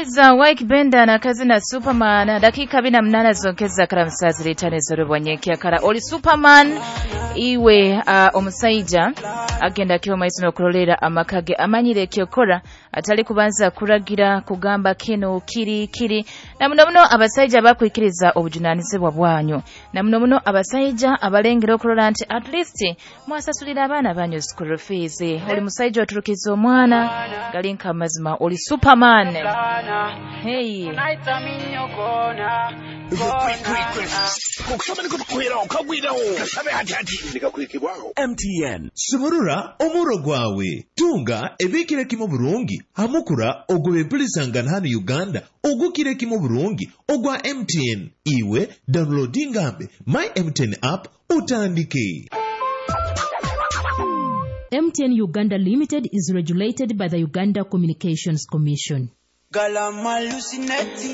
Omusaija Wyke Benda nakazina Superman, dakika 48 zonkeza kara musazi litane zorobwanyekyakara oli Superman iwe. Omusaija agenda kiho maiso n'okurolera amaka ge, amanyire ekyokora, atali kubanza kuragira kugamba kino kiri kiri. Na muno muno abasaija bakwikiriza obujunanizibwa bwanyu, na muno muno abasaija abalengera okurora nti at least mwasasulira abaana banyu school fees. Oli musaija oturukiza omwana gali nka mazima oli Superman. Hey. Kukusaba niko tukuheraho kagwiraho kasabe hati hati nikakuhikibwaho MTN. Sumurura omuro gwawe, tunga ebikire kimu burungi hamukura ogw'empurizangana hano Uganda ogukire kimu burungi ogwa MTN. Iwe downloadingambe My MTN app utandike. MTN Uganda Limited is regulated by the Uganda Communications Commission.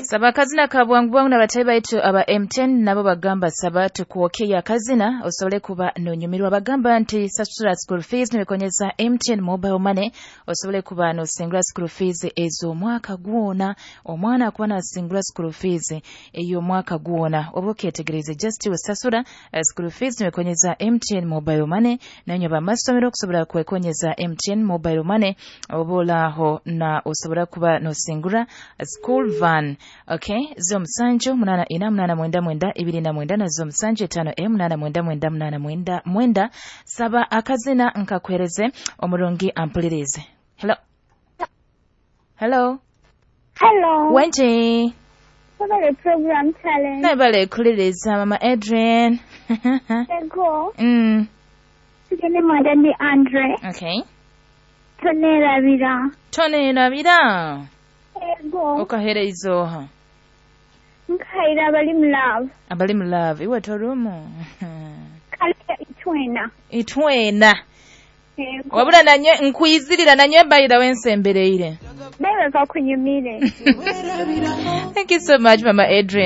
Saba akazina ka bwangu bwangu n'abatayi baitu aba MTN nabo bagamba saba tukuwokeyo akazina osobole kuba nonyumirwa. Bagamba nti sasula school fees nibikonyeza MTN mobile money osobole kuba nosingula school fees ez'omwaka gwona. Omwana akuba nasingula school fees ey'omwaka gwona, oba okyetegereze, just wesasula school fees nibikonyeza MTN mobile money. Nanyo bamasomero okusobola kwekonyeza MTN mobile money, oba olaaho na osobola kuba nosingura school van. Okay, 0784 89 29 na 075 899 899. Saba akazina nkakwereze omurungi ampulirize. Hello, hello. Hello. Wenje. Webale program, Talent. Nabale kuliriza, Mama Adrian. Ego. Tugende mwada ndi Andre. Okay. Tonerabira. Tonerabira. Ego. Okahereza oha? Nkaira abali mu love. Abali mu love, iwe torumu? Kale itwena. Itwena. Ego. Wabula nanye nkwizirira nanye bayira wensembereire. Nawe kakunyumire. Thank you so much, Mama Adrian.